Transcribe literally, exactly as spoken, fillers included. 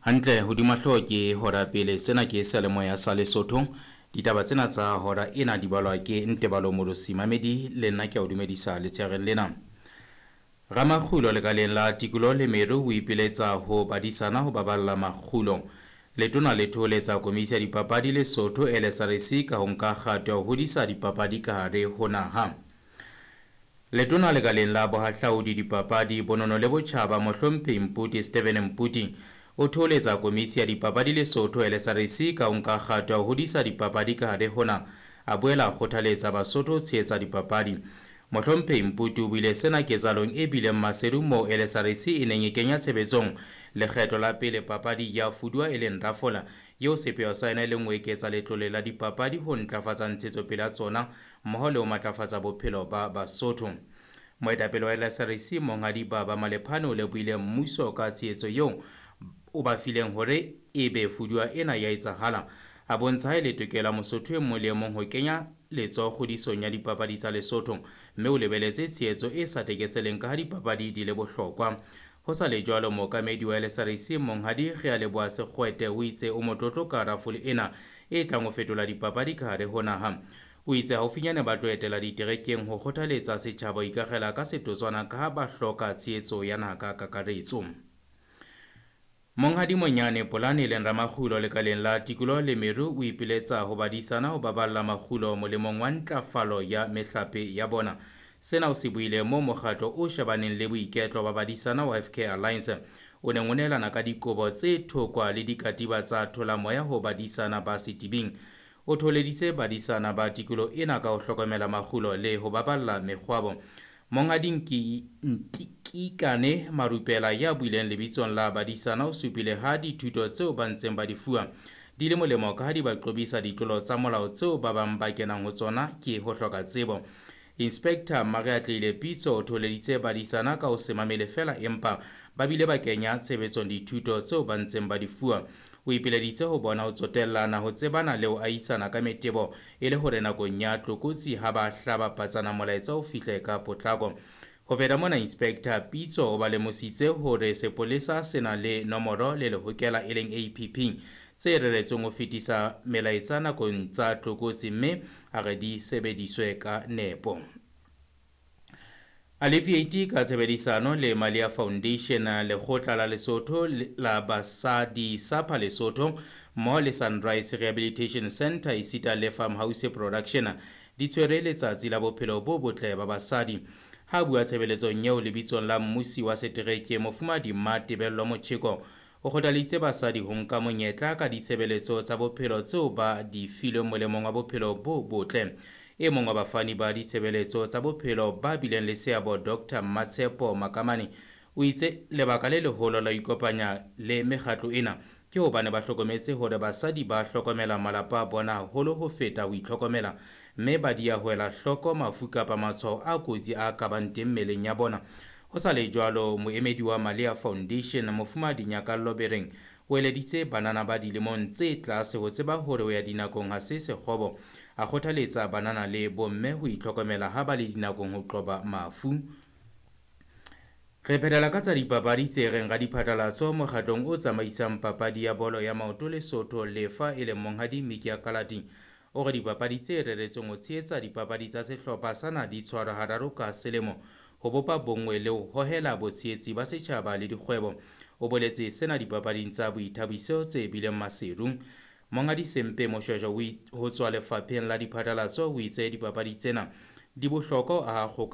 Hantle hodima hlooho ke hora pele. Sena ke seyalemoya sa Lesotho. Ditaba tsena tsa hora ena di balwa ke Ntebalo Morosi Mamedi, le nna ke a o dumedisa letshehareng lena. Ramakgulo lekaleng la tikoloho le meru o ipiletsa ho badisana ho baballa makgulo. Letona le thoholetsa komisi ya dipapadi Lesotho L S R C ka ho nka kgato ya ho hodisa dipapadi ka hare ho naha. Letona lekaleng la bohahlaudi, dipapadi, bonono le botjhaba Mohlomphehi Mputi Stephen Mputi o thoholetsa komisi ya dipapadi Lesotho L S R C ka ho nka kgato ya ho hodisa dipapadi ka hare ho naha. A boela a kgothaletsa Basotho ho tshehetsa dipapadi. Mohlomphehi Mputi o buile sena ketsahalong e bileng Maseru moo L S R C e neng e kenya tshebetsong lekgetlo la pele papadi ya fuduwa e leng rafola, eo sepheo sa yona e leng ho eketsa letlole la dipapadi ho ntlafatsa ntshetsopele ya tsona mmoho le ho matlafatsa bophelo ba Basotho. Moetapele wa L S R C Monghadi Baba Malephane o lebohile mmuso ka tshehetso eo o ba fileng hore ebe fuduwa ena ya etsahala. A bontsha ha e le tokelo ya Mosotho e mong le e mong ho kenya letsoho kgodisong ya dipapadi tsa Lesotho, mme o lebeletse tshehetso e sa tekeseleng ka ha dipapadi di le bohlokwa. Ho sa le jwalo, mookamedi wa L S R C Monghadi Realeboha Sekgwete o itse o motlotlo ka rafole ena e tlang ho fetola dipapadi ka hare ho naha. O itse haufinyane ba tlo etela diterekeng ho kgothaletsa setjhaba ho ikakgela ka setotswana ka ha ba hloka tshehetso ya naha ka kakaretso. Monghadi Monyane Polane e leng ramakgulo lekaleng la tikoloho le meru o ipiletsa ho badisana ho baballa makgulo molemong wa ntlafalo ya mehlape ya bona. Sena o se buile moo mokgatlo o shebaneng le boiketlo ba badisana wa F K Alliance o neng o nehelana ka dikobo tse thokwa le dikatiba tsa tholamoya ho badisana ba setibing. O thoholeditse badisana ba tikoloho ena ka ho hlokomela makgulo le ho baballa mekgwabo. Monghadi Ntikikane Marupela ya buileng lebitsong la badisana o supile ha dithuto tseo ba ntseng ba di fuwa di le molemo ka ha di ba qobisa ditlolo tsa molao tseo ba bang ba kenang ho tsona ke ho hloka tsebo. Inspector Mareatlile Pitso o thoholeditse badisana ka ho se mamele feela empa ba bile ba kenya tshebetsong dithuto tseo ba ntseng ba di fuwa. O ipileditse ho bona ho tsotellana, ho tsebana le ho ahisana ka metebo e le hore nakong ya tlokotsi ha ba hlaba patsana molaetsa o fihle ka potlako. Ho feta mona, Inspector Pitso o ba lemositse hore sepolesa se na le nomoro le lehokela e leng A P P tse reretsweng ho fetisa melaetsa nakong tsa tlokotsi mme a re di sebediswe ka nepo. Alleviate ka tshebedisano le Malia Foundation, lekgotla la Lesotho la Basadi SAPA Lesotho mmoho le Sunrise Rehabilitation Center esita le Farmhouse Production di tshwere letsatsi la bophelo bo botle ba basadi. Ha bua tshebeletsong eo lebitsong la mmusi wa setereke Mofumahadi Matebello Motjheko o kgothalleditse basadi ho nka monyetla ka ditshebeletso tsa bophelo tseo ba di filweng molemong wa bophelo bo botle. E mong wa bafani ba ditshebeletso tsa bophelo ba bileng le seabo Doctor Matshepo Makamane o itse lebaka le leholo la ho ikopanya le mekgatlo ena ke hobane ba hlokometse hore basadi ba hlokomela malapa a bona haholo ho feta ho itlhokomela, mme ba di ya ho ela hloko mafu kapa matshwao a kotsi a ka bang teng mmeleng ya bona. Ho sa le jwalo, moemedi wa Malia Foundation Mofumahadi Nyakallo Bereng o eleditse banana ba dilemong tse tlase ho tseba hore ho ya dinakong ha se sekgobo. A kgothaletsa banana le bomme ho itlhokomela ha ba le dinakong ho qoba mafu. Re phethela ka tsa dipapadi tse reng radiphatlalatso mokgatlong o tsamaisang papadi ya bolo ya maoto Lesotho Lefa e leng Monghadi Miki Akalati o re dipapadi tse reretsweng ho tshehetsa dipapadi tsa sehlopha sa naha di tshwarwa hararo ka selemo ho bopa bonngwe le ho hohela botshehetsi ba setjhaba le dikgwebo. O boletse sena dipapading tsa boithabiso tse bileng Maseru. Monghadi Sempe Moshweshwe ho tswa lefapheng la diphatlalatso o itse dipapadi tsena di bohlokwa ho aha kgoka